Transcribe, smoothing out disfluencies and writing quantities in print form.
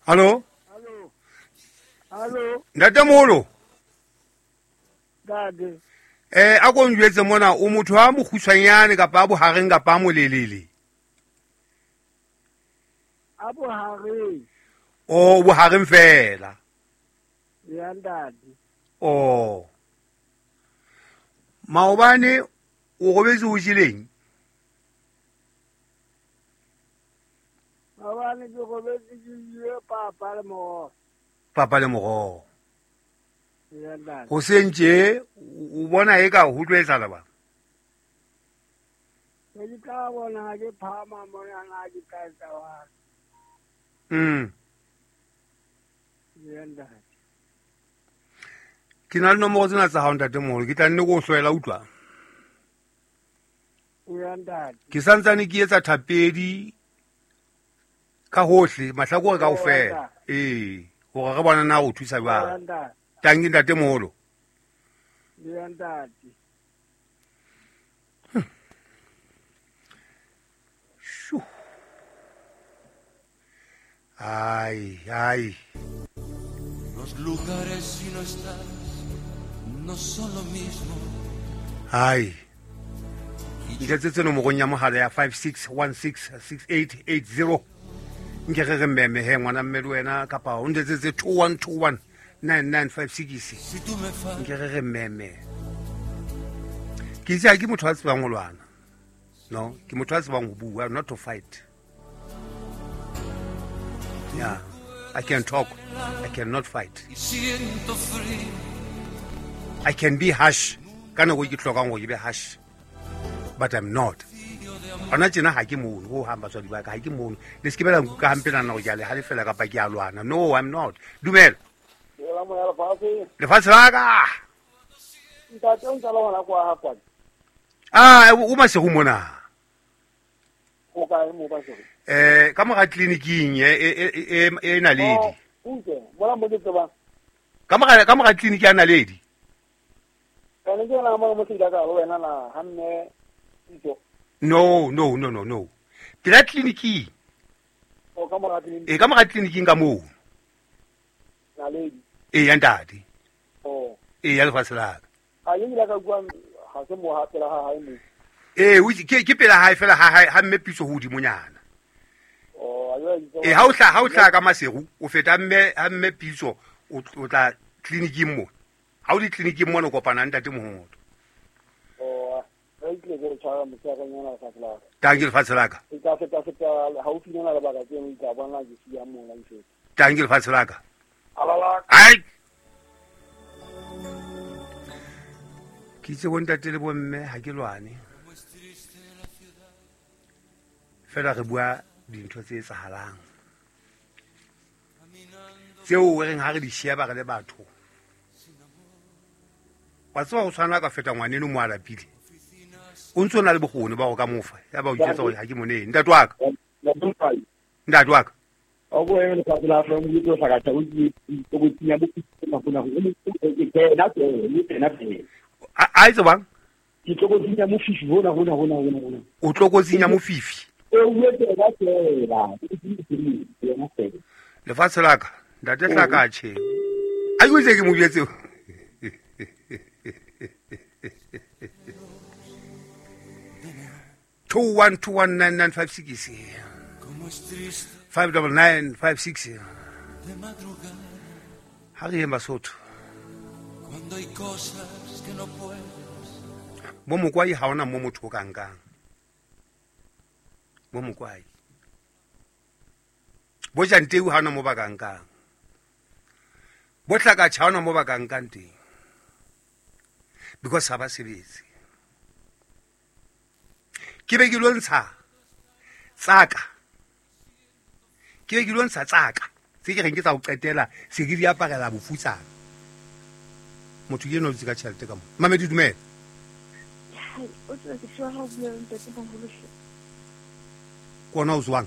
Hallo? Hallo. Hallo. Ntatemoholo. Ntate. A ko njwetse mona o motho a mokgutshwanyane kapa a bohareng kapa a molelele? A bohareng. O bohareng fela. Ya ntate. O. Maobane o robetse o jeleng? Maobane ke robetse ke jele papa le moroho. Papa le moroho. Ya ntate. Hoseng tje o bona eka ho tlo etsahala bang? Ke di tla bona ha ke phahama mona na ke tla etsa jwang. Ya ntate. Ke na le nomoro tsena tsa hao ntatemoholo, ke tla nne ke o hloela utlwa. Ya ntate. Ke santsane ke etsa thapedi ka hohle, mahlakore kaofela. Ee, hore re bona na o thusa jwang. Tanki ntatemoholo. Ya ntate. Shu. Ai, ai. Los lugares si no estás no son lo mismo. Ai. Ntetse nomorong ya mohala ya 56166880. Nke re re mmeme he ngwana mme le wena kapa o ntetsetse 21219956. Nke re re mmeme. Ke itse ha ke motho a tsebang ho lwana. No, ke motho a tsebang ho bua, not to fight. Yeah, I can talk, I cannot fight. I can be harsh. Ka nako e ke hlokang hore ke be harsh, but I'm not. Hona tjena ha ke mono, ho hang batswadi ba ka, ha ke mono. Le se ke be la nkuka hampe nahana hore ke a le halefela kapa ke a lwana. No, I'm not. Dumela. Dumela moya lefatshe. Lefatshe la ka. Ntate o ntse le hona kwa ha kwano? Ah, o Maseru mona. O kae mo Maseru? Ka mora tleliniking e Naledi. Oh, utlwe, mona mo ke tsebang. Ka mora tleliniki ya Naledi. Ka ne ke yona mo mo se ka ho wena na ha mme Tito. No, no, no, no, no. Pela tleliniking. O ka mora tleliniki. E ka mora tleliniking ka moo. Naledi. E ya ntate. Oh. E ya lefatshe la ka. Ha ke ile ka bua ha se mo ha pela ha hae mo. E o ke pela hae fela ha hae ha mme Pitso hodimonyana. Oh, a jwale E ha o hla ka Maseru o feta mme ha mme Pitso o tla tleliniking mo. Ha o di tleliniking mona o kopana ntate Mohoto. Oh, re tle ke re tshwara motshehare lefatshe la ka. Tanki lefatshe la ka. E tla feta haufinyana le baka tseno, ke tla bona ke siya mona ke feta. Tanki lefatshe la ka. Alala. Ai. Ke itse bo ntate le bo mme ha ke lwane. Fela re bua dintho tse etsahalang. Tseo re reng ha re di sheba re le batho. Wa tseba ho tshwana ka feta ngwaneno mo a lapile. O ntso na le bokgoni ba ho ka mofa. Ya ba o itjwetsa hore ha ke monene. Ntate wa ka. Ntate wa ka. O bo eme lefatshe la Afrika, o tlo hlaka tjha, o tlo tsinya bo mafuna ho ke tsena tsena tsena. A itse bang? Ke tlokotsing ya mofifi hona hona hona hona hona. O tlokotsing ya mofifi. O tsena tsena. Tsena tsena. Lefatshe la ka, ntate hlaka tjhe. A ke itse ke mo jwetse. 21219956 59956. Ha re yeng Basotho. Bo mokwai ha ona mo motho o ka nkang. Bo mokwai. Bo janteu ha ona mo ba ka nkang. Bo hlakatjha ha ona mo ba ka nkang teng. Because ha ba sebetse. Ke be ke lo ntsha tsaka. Ke be ke lo ntsha tsaka. Tse ke reng ke tsa ho qetela, se ke di aparela bofutsana. Motho ke enwa o dutse ka tjhelete ka mona. Mamedi, dumela. Hai, o tseba ke tseba ha o bua le ntate moholo hle. Ke ona o tswang?